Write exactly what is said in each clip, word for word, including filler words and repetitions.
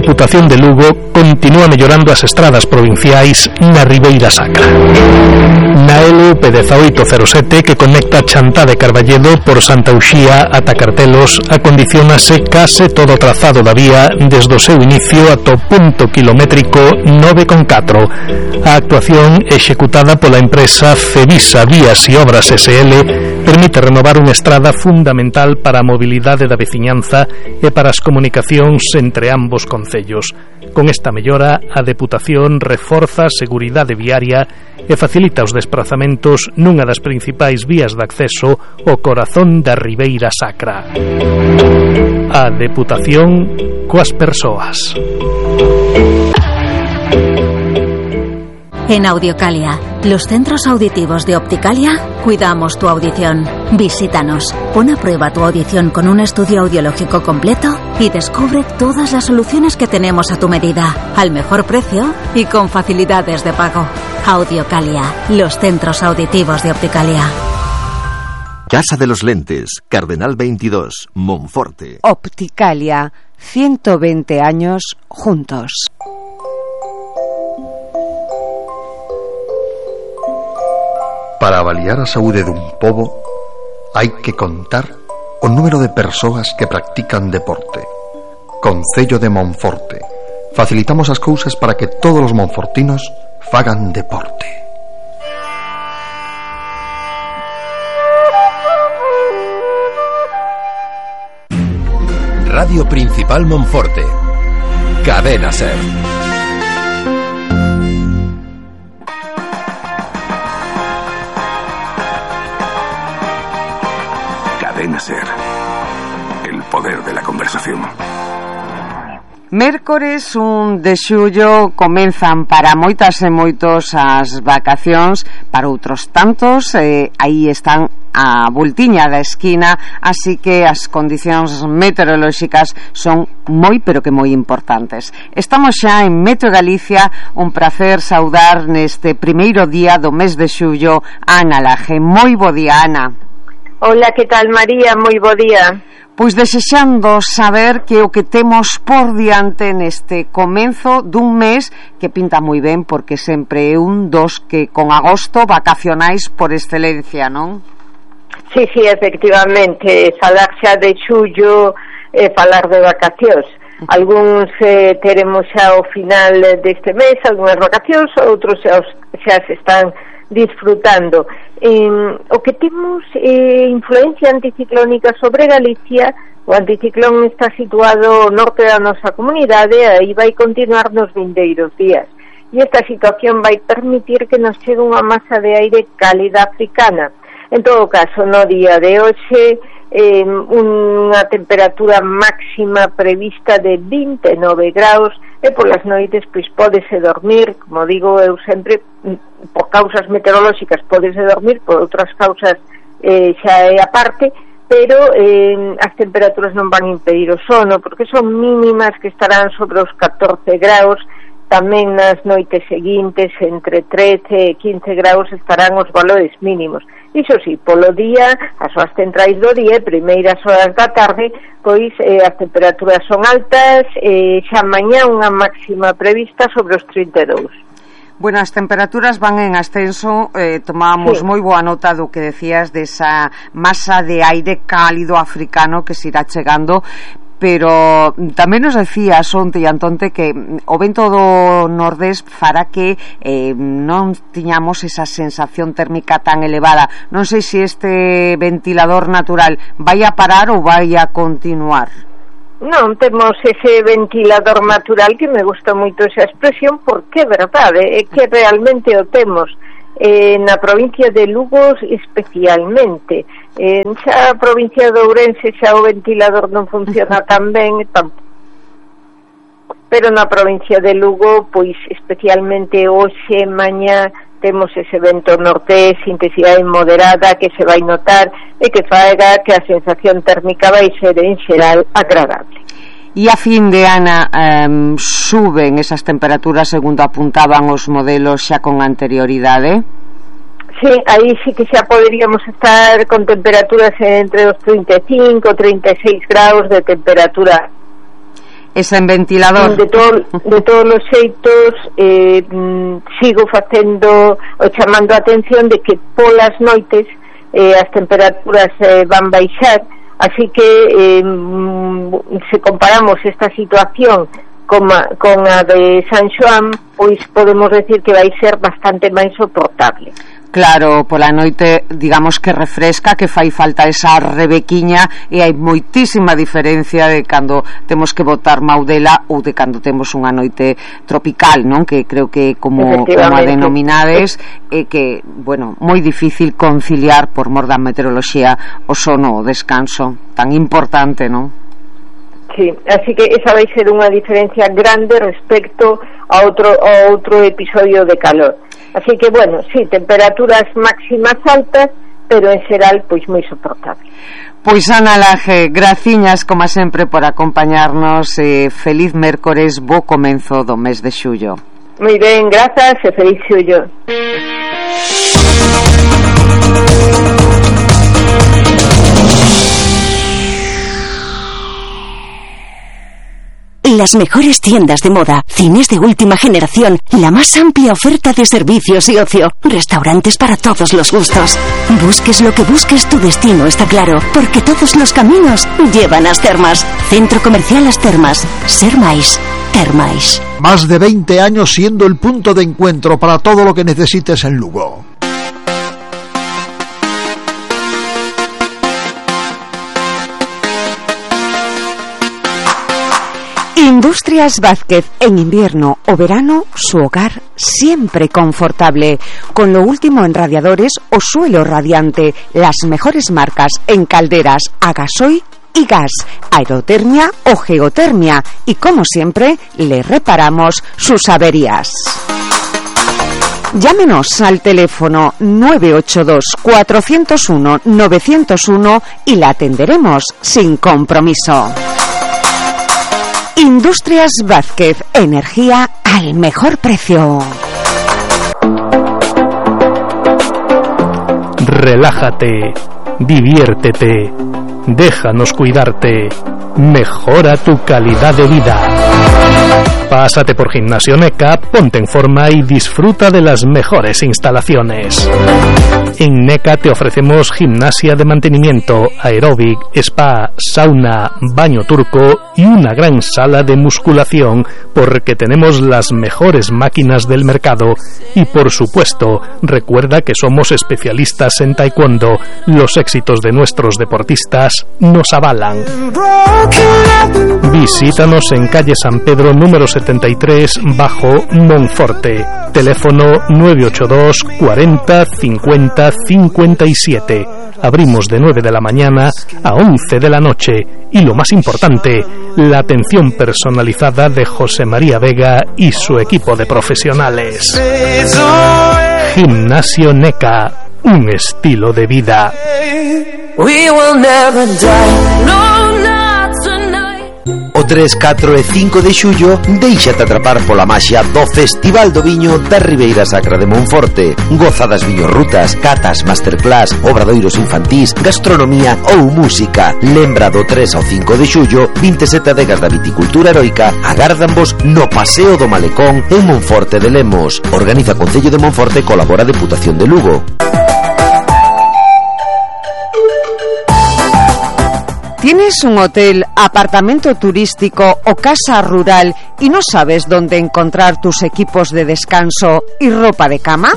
Deputación de Lugo continúa mellorando as estradas provinciais na Ribeira Sacra. Na L P dezaoito cero sete, que conecta Chantá de Carballedo por Santa Uxía ata Cartelos, acondicionase case todo o trazado da vía desde o seu inicio ata o punto kilométrico nove con catro. A actuación executada pola empresa Cevisa Vías e Obras S L permite renovar unha estrada fundamental para a mobilidade da veciñanza e para as comunicacións entre ambos concellos. Con esta mellora, a Deputación reforza a seguridade viaria e facilita os desplazamentos nunha das principais vías de acceso ao corazón da Ribeira Sacra. A Deputación coas persoas. En Audiocalia, los centros auditivos de Opticalia, cuidamos tu audición. Visítanos, pon a prueba tu audición con un estudio audiológico completo y descubre todas las soluciones que tenemos a tu medida, al mejor precio y con facilidades de pago. Audiocalia, los centros auditivos de Opticalia. Casa de los Lentes, Cardenal veintidós, Monforte. Opticalia, ciento veinte años juntos. Para avaliar a saúde dun pobo hai que contar o número de persoas que practican deporte. Concello de Monforte. Facilitamos as cousas para que todos os monfortinos fagan deporte. Radio Principal Monforte. Cadena Ser. Cadena Ser. El poder de la conversación. Mércores un de xullo comenzan para moitas e moitos as vacacións, para outros tantos eh, aí están a voltiña da esquina, así que as condicións meteorolóxicas son moi pero que moi importantes. Estamos xa en Meteo Galicia, un prazer saudar neste primeiro día do mes de xullo a Ana Laje. Moi bo día, Ana. Hola, que tal, María? Moi bo día. Pois desexando saber que o que temos por diante neste comenzo dun mes que pinta moi ben, porque sempre é un dos que con agosto vacacionais por excelencia, non? Sí, sí, efectivamente, falar xa de xullo e eh, falar de vacacións. Algúns eh, teremos xa ao final deste mes algunhas vacacións, outros xa, xa se están disfrutando. Eh, o que temos é eh, influencia anticiclónica sobre Galicia. O anticiclón está situado ao norte da nosa comunidade e aí vai continuar nos vindeiros días. E esta situación vai permitir que nos chegue unha masa de aire cálida africana. En todo caso, no día de hoxe, eh, unha temperatura máxima prevista de vinte e nove graus, e polas noites pois pódese dormir, como digo eu sempre, por causas meteorolóxicas pódese dormir, por outras causas eh, xa é aparte, pero eh, as temperaturas non van impedir o sono, porque son mínimas que estarán sobre os catorce graus. Tamén nas noites seguintes entre trece e quince graus estarán os valores mínimos. Iso sí, polo día, as horas centrais do día e primeiras horas da tarde, pois eh, as temperaturas son altas, e eh, xa mañá unha máxima prevista sobre os trinta e dous. Bueno, as temperaturas van en ascenso, eh, tomamos sí. moi boa nota do que decías desa masa de aire cálido africano que se irá chegando, pero tamén nos decías onte e antonte que o vento do nordés fará que eh, non tiñamos esa sensación térmica tan elevada. Non sei se este ventilador natural vai a parar ou vai a continuar. Non, temos ese ventilador natural, que me gusta moito esa expresión, porque é verdade, é que realmente o temos. Eh, na provincia de Lugo especialmente, en xa a provincia de Ourense xa o ventilador non funciona tan ben, pero na provincia de Lugo pois especialmente hoxe mañá temos ese vento norte, intensidade moderada, que se vai notar e que faga que a sensación térmica vai ser en xeral agradable. E a fin de Ana eh, suben esas temperaturas segundo apuntaban os modelos xa con anterioridade? Sí, aí sí que xa poderíamos estar con temperaturas entre os trinta e cinco e trinta e seis graus de temperatura. E sen ventilador. De, to, de todos os xeitos, eh, sigo facendo o chamando a atención de que polas noites eh, as temperaturas eh, van baixar, así que eh, se comparamos esta situación con a, con a de San Xoán, pois podemos decir que vai ser bastante máis soportable. Claro, pola noite, digamos que refresca, que fai falta esa rebequiña, e hai moitísima diferencia de cando temos que botar maudela ou de cando temos unha noite tropical, non? Que creo que como, como a denominades, é que, bueno, moi difícil conciliar por mor da meteoroloxía o sono, o descanso, tan importante, non? Sí, así que esa vai ser unha diferencia grande respecto a outro, a outro episodio de calor. Así que, bueno, sí, temperaturas máximas altas, pero en xeral, pois moi soportable. Pois Ana Laje, graciñas como sempre por acompañarnos, eh, feliz mércores, bo comenzo do mes de xullo. Moi ben, grazas e feliz xullo. Las mejores tiendas de moda, cines de última generación, la más amplia oferta de servicios y ocio, restaurantes para todos los gustos. Busques lo que busques, tu destino está claro, porque todos los caminos llevan a As Termas. Centro Comercial As Termas. Ser máis, ter máis. Más de veinte años siendo el punto de encuentro para todo lo que necesites en Lugo. Industrias Vázquez, en invierno o verano, su hogar siempre confortable, con lo último en radiadores o suelo radiante, las mejores marcas en calderas a gasoil y gas, aerotermia o geotermia, y como siempre, le reparamos sus averías. Llámenos al teléfono nueve ocho dos, cuatro cero uno, nueve cero uno y la atenderemos sin compromiso. Industrias Vázquez, energía al mejor precio. Relájate, diviértete, déjanos cuidarte, mejora tu calidad de vida. Pásate por Gimnasio NECA, ponte en forma y disfruta de las mejores instalaciones. En NECA te ofrecemos gimnasia de mantenimiento, aeróbic, spa, sauna, baño turco y una gran sala de musculación, porque tenemos las mejores máquinas del mercado. Y por supuesto, recuerda que somos especialistas en taekwondo. Los éxitos de nuestros deportistas nos avalan. Visítanos en calle San Pedro número setenta y tres, bajo Monforte. Teléfono nueve ocho dos, cuarenta, cincuenta, cincuenta y siete. Abrimos de nueve de la mañana a once de la noche. Y lo más importante, la atención personalizada de José María Vega y su equipo de profesionales. Gimnasio NECA, un estilo de vida. We will never die. No, not tonight. O tres, catro e cinco de xullo, déixate atrapar pola maxia do Festival do Viño da Ribeira Sacra de Monforte. Goza das viñorrutas, catas, masterclass, obradoiros infantís, gastronomía ou música. Lembra do tres ao cinco de xullo, vinte e sete adegas da viticultura heroica agárdanvos no Paseo do Malecón en Monforte de Lemos. Organiza Concello de Monforte e colabora Deputación de Lugo. ¿Tienes un hotel, apartamento turístico o casa rural y no sabes dónde encontrar tus equipos de descanso y ropa de cama?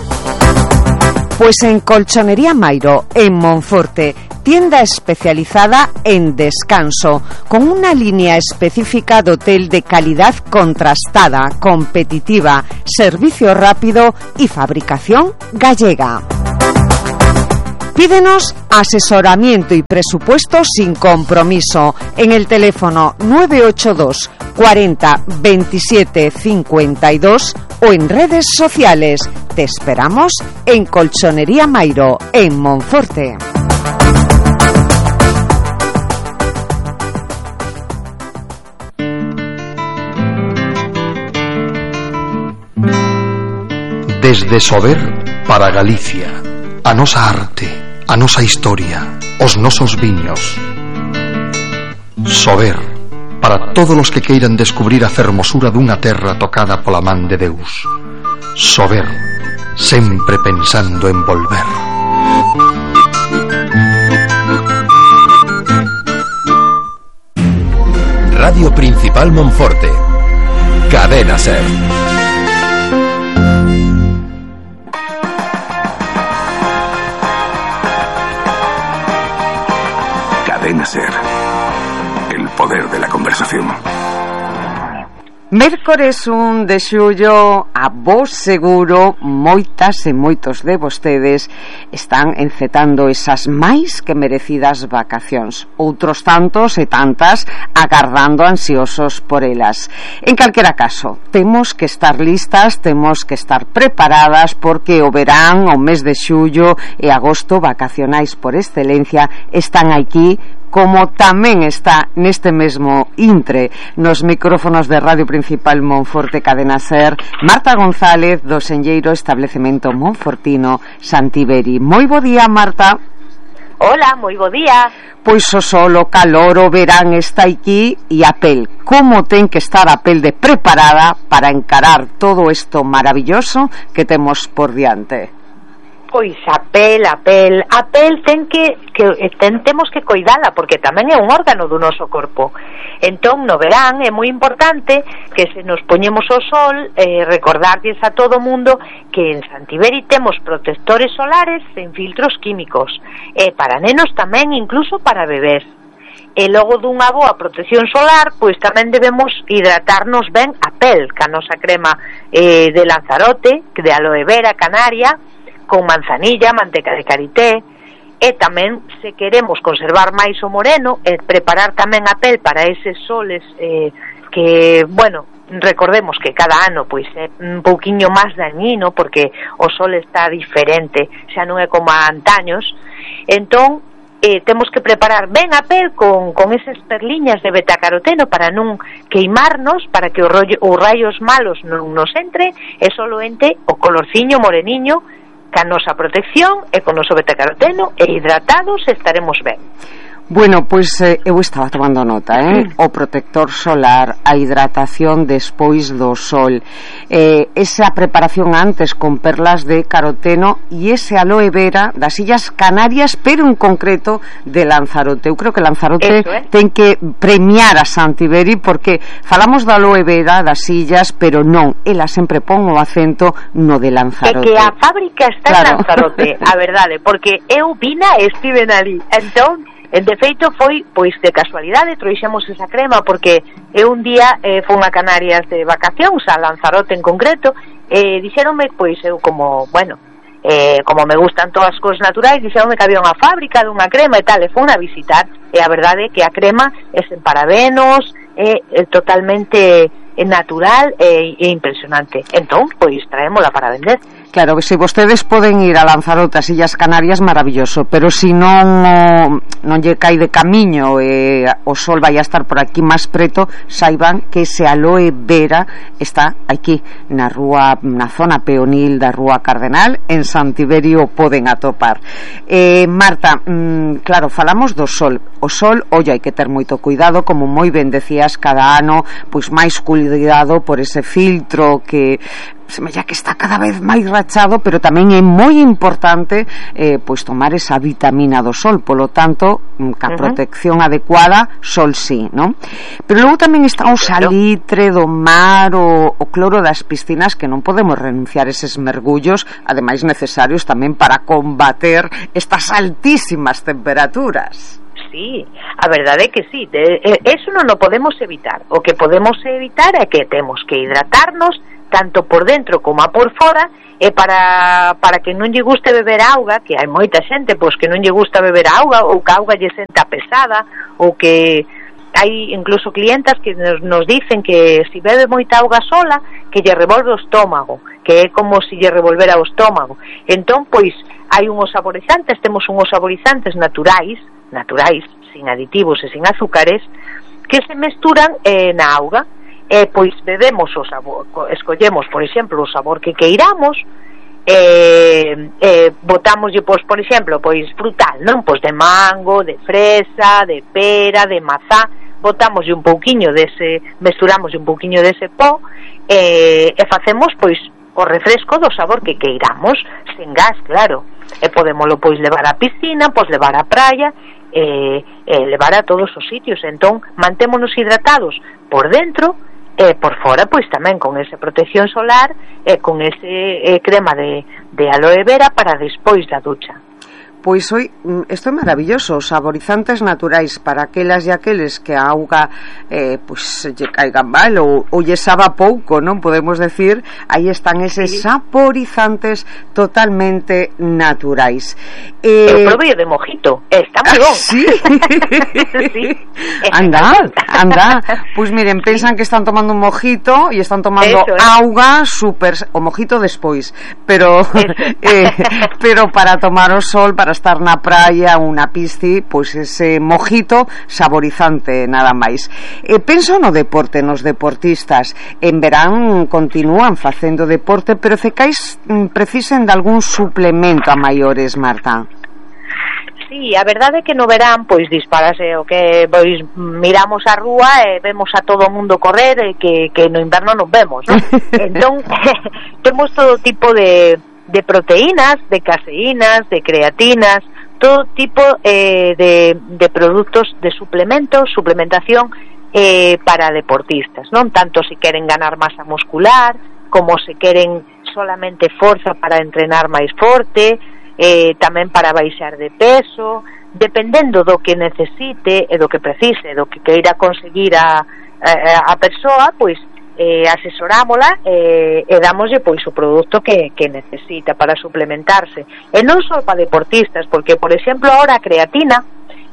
Pues en Colchonería Mairo, en Monforte, tienda especializada en descanso, con una línea específica de hotel de calidad contrastada, competitiva, servicio rápido y fabricación gallega. Pídenos asesoramiento y presupuesto sin compromiso en el teléfono nueve ocho dos, cuarenta, veintisiete, cincuenta y dos o en redes sociales. Te esperamos en Colchonería Mairo, en Monforte. Desde Sober para Galicia, a nosa arte, a nosa historia, os nosos viños. Sober, para todos os que queiran descubrir a fermosura dunha terra tocada pola man de Deus. Sober, sempre pensando en volver. Radio Principal Monforte. Cadena Ser. Cadena Ser. El poder de la conversación. Mércores un de xullo, a vos seguro moitas e moitos de vostedes están encetando esas máis que merecidas vacacións, outros tantos e tantas agardando ansiosos por elas. En calquera caso, temos que estar listas, temos que estar preparadas, porque o verán, o mes de xullo e agosto, vacacionais por excelencia, están aquí, como tamén está neste mesmo intre nos micrófonos de Radio Principal Monforte Cadena Ser, Marta González, do senlleiro establecemento monfortino Santiberi. Moi bo día, Marta. Hola, moi bo día. Pois o sol, o calor, o verán está aquí, e a pel, como ten que estar a pel de preparada para encarar todo isto maravilloso que temos por diante. Pois a pel, a pel, a pel ten que, que ten, temos que coidala, porque tamén é un órgano do noso corpo. Entón, no verán é moi importante que se nos poñemos ao sol, eh, recordarlles a todo o mundo que en Santiberi temos protectores solares sen filtros químicos, e para nenos tamén, incluso para bebés. E logo dunha boa protección solar, pois tamén debemos hidratarnos ben a pel, ca nosa crema eh, de Lanzarote, de aloe vera canaria, con manzanilla, manteca de karité, e tamén, se queremos conservar máis o moreno e preparar tamén a pel para eses soles eh, que, bueno, recordemos que cada ano pois é un pouquiño máis dañino, porque o sol está diferente, xa non é como a antaños. Entón, eh, temos que preparar ben a pel con, con esas perliñas de betacaroteno para non queimarnos, para que os, rollo, os rayos malos non nos entre, e solo entre o colorciño moreniño ca nosa protección e con noso betacaroteno, e hidratados estaremos ben. Bueno, pois eh, eu estaba tomando nota, eh? O protector solar, a hidratación despois do sol, eh, esa preparación antes con perlas de caroteno e ese aloe vera das Illas Canarias, pero en concreto de Lanzarote. Eu creo que Lanzarote Eso, eh? ten que premiar a Santiberi, porque falamos da aloe vera das illas, pero non, ela sempre pon o acento no de Lanzarote. É que a fábrica está claro. en Lanzarote, a verdade, porque eu vina e estiven ali, entón de feito foi, pois de casualidade trouxemos esa crema, porque eu un día eh, fui a Canarias de vacacións, a Lanzarote en concreto, e eh, dixeronme, pois eu como, bueno, eh, como me gustan todas as cousas naturais, dixeronme que había unha fábrica dunha crema e tal, e fui a visitar, e a verdade é que a crema é sen parabenos, é, é totalmente é natural e, e impresionante. Entón, pois traémola para vender. Claro, que se vostedes poden ir a Lanzarote, as Illas Canarias, maravilloso, pero se non non lle cai de camiño e o sol vai a estar por aquí máis preto, saiban que ese aloe vera está aquí na rúa, na zona peonil da Rúa Cardenal, en Santiberi o poden atopar. eh, Marta, mm, claro, falamos do sol. O sol, oi, hai que ter moito cuidado, como moi ben decías, cada ano pois máis cuidado por ese filtro que semella que está cada vez máis rachado, pero tamén é moi importante eh, pois tomar esa vitamina do sol, polo tanto, ca uh-huh. protección adecuada, sol sí, non? Pero logo tamén está o salitre do mar, o, o cloro das piscinas, que non podemos renunciar a eses mergullos, ademais necesarios tamén para combater estas altísimas temperaturas. Sí, a verdade é que sí, de, eso non o podemos evitar. O que podemos evitar é que temos que hidratarnos tanto por dentro como a por fora, e para, para que non lle guste beber auga, que hai moita xente pois que non lle gusta beber auga, ou que a auga lle senta pesada, ou que hai incluso clientas que nos, nos dicen que se bebe moita auga sola, que lle revolve o estómago, que é como se lle revolvera o estómago. Entón, pois, hai unhos saborizantes, temos unhos saborizantes naturais, naturais, sin aditivos e sin azúcares, que se mesturan eh, na auga, e pois bebemos o sabor, escollemos, por exemplo, o sabor que queiramos, eh, eh, botámoslle, pois, por exemplo, pois frutal, non? Pois de mango, de fresa, de pera, de mazá, botamos un pouquiño dese, mesturamos un pouquiño dese pó e, e facemos pois o refresco do sabor que queiramos, sen gas, claro. E podémolo pois levar á piscina, pois levar á praia, e, e levar a todos os sitios. Entón, mantémonos hidratados por dentro e por fora, pois tamén con esa protección solar e con ese eh, crema de, de aloe vera para despois da ducha. Pois hoy, isto é maravilloso, saborizantes naturais para aquelas e aqueles que a auga eh, pois lle caigan mal ou, ou lle saba pouco, non podemos decir, aí están eses sí. saborizantes totalmente naturais. Eh, Eu probei de mojito, está moi bon. Sí. sí. Anda, anda. Pois miren, pensan que están tomando un mojito e están tomando Eso, eh. auga super, o mojito despois, pero eh, pero para tomar o sol, para estar na praia, unha pisci, pois ese mojito saborizante nada máis. E penso no deporte, nos deportistas. En verán continúan facendo deporte, pero cecais precisen de algún suplemento a maiores, Marta. Sí, a verdade é que no verán pois disparase o que pois miramos a rúa e vemos a todo o mundo correr e que, que no inverno non vemos, ¿no? Entón temos todo tipo de de proteínas, de caseínas, de creatinas, todo tipo eh, de, de productos de suplementos, suplementación eh, para deportistas, non tanto se queren ganar masa muscular como se queren solamente forza para entrenar máis forte, eh, tamén para baixar de peso, dependendo do que necesite e do que precise, do que queira conseguir a, a, a persoa, pois eh, asesorámola eh, e damoslle pois o produto que, que necesita para suplementarse, e non só para deportistas, porque por exemplo ahora a creatina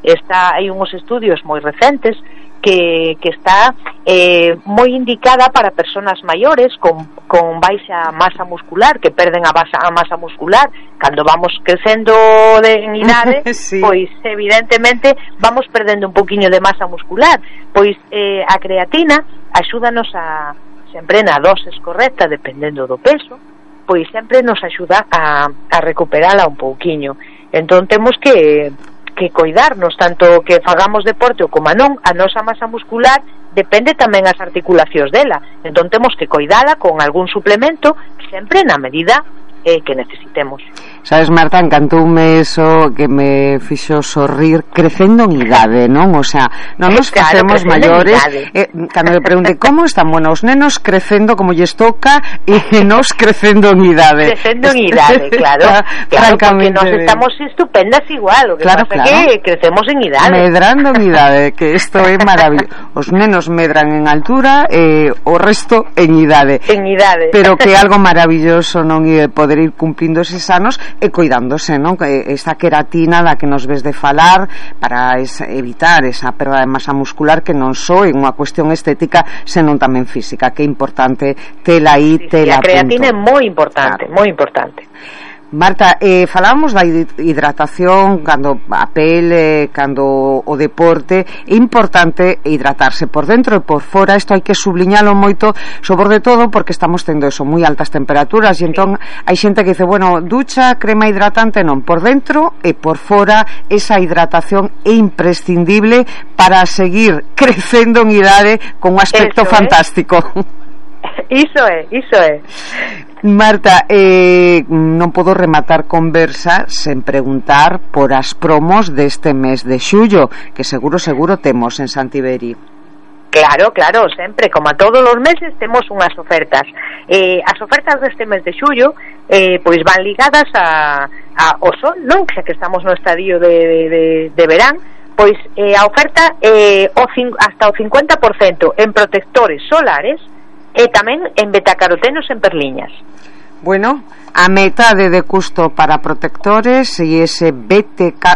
está, hai uns estudios moi recentes que, que está eh, moi indicada para personas maiores con, con baixa masa muscular, que perden a, basa, a masa muscular cando vamos crecendo de, en idade, sí. Pois evidentemente vamos perdendo un poquinho de masa muscular, pois eh, a creatina axúdanos a, sempre na doses correcta, dependendo do peso, pois sempre nos axuda a, a recuperala un pouquiño. Entón temos que, que coidarnos, tanto que fagamos deporte ou como non, a nosa masa muscular depende tamén as articulacións dela. Entón temos que coidala con algún suplemento, sempre na medida eh, que necesitemos. Sabes, Marta, encantoume eso que me fixo sorrir, crecendo en idade, non? O sea, non nos claro, facemos maiores, eh, cando me pregunte como están, bueno, os nenos crecendo como lles toca e nos crecendo en idade. Crecendo en idade, claro, claro, porque nos estamos estupendas igual, o que claro, pasa claro. que crecemos en idade. Medrando en idade, que isto é maravilloso. Os nenos medran en altura e eh, o resto en idade. En idade. Pero que algo maravilloso, non, e poder ir cumplindo eses anos e coidándose, non? Esta queratina da que nos ves de falar para esa, evitar esa perda de masa muscular, que non só é unha cuestión estética, senón tamén física, que é importante tela aí, sí, tela sí, a creatina é moi importante, claro. moi importante. Marta, eh, falábamos da hidratación cando a pele, cando o deporte, é importante hidratarse por dentro e por fora. Isto hai que subliñalo moito, sobre todo porque estamos tendo eso, moi altas temperaturas, e entón hai xente que dice, bueno, ducha, crema hidratante, non, por dentro e por fora esa hidratación é imprescindible para seguir crecendo en idade con un aspecto eso, fantástico. Eh? Iso é, iso é. Marta, eh, non podo rematar conversa sen preguntar por as promos deste mes de xullo, que seguro, seguro temos en Santiberi. Claro, claro, sempre, como a todos os meses temos unhas ofertas. Eh, as ofertas deste mes de xullo eh, pois van ligadas a, a o sol, non? Xa que estamos no estadio de, de, de verán, pois eh, a oferta eh, o cin, hasta o cincuenta por cento en protectores solares e tamén en betacarotenos en perliñas. Bueno, a metade de custo para protectores e ese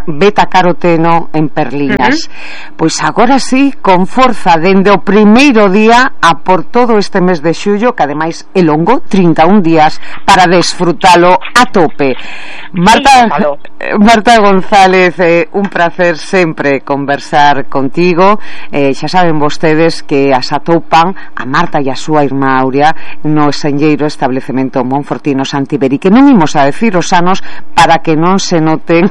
betacaroteno en perliñas. Uh-huh. Pois agora sí, con forza dende o primeiro día a por todo este mes de xullo, que ademais é longo, trinta e un días para desfrutalo a tope. Marta, sí, Marta González, eh, un placer sempre conversar contigo. Eh, xa saben vostedes que as atopan a Marta e a súa irmá Aurea no senlleiro establecemento Monfortino Santiberi ter, e que non imos a decir os anos para que non se noten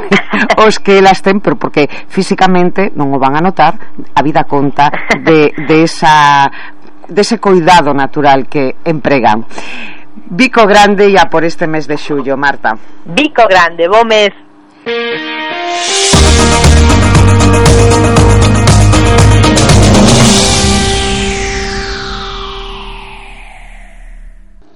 os que elas ten, pero porque físicamente non o van a notar, a vida conta de, de esa dese cuidado natural que empregan. Bico grande ya por este mes de xullo, Marta. Bico grande, bo mes.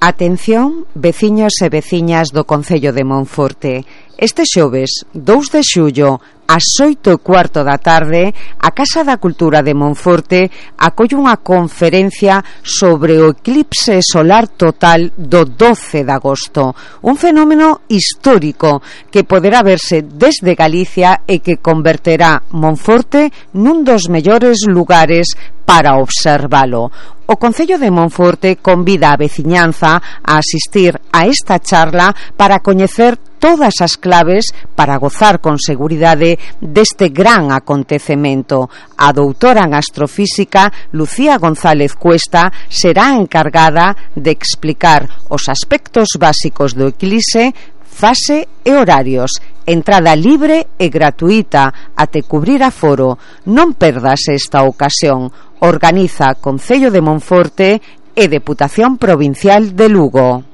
Atención, veciños e veciñas do Concello de Monforte. Este xoves, dous de xullo, ás oito e cuarto da tarde, a Casa da Cultura de Monforte acolle unha conferencia sobre o eclipse solar total do doce de agosto, un fenómeno histórico que poderá verse desde Galicia e que converterá Monforte nun dos mellores lugares para observalo. O Concello de Monforte convida a veciñanza a asistir a esta charla para coñecer todas as claves para gozar con seguridade deste gran acontecemento. A doutora en astrofísica Lucía González Cuesta será encargada de explicar os aspectos básicos do eclipse, fase e horarios. Entrada libre e gratuita até cubrir aforo. Non perdas esta ocasión. Organiza Concello de Monforte e Deputación Provincial de Lugo.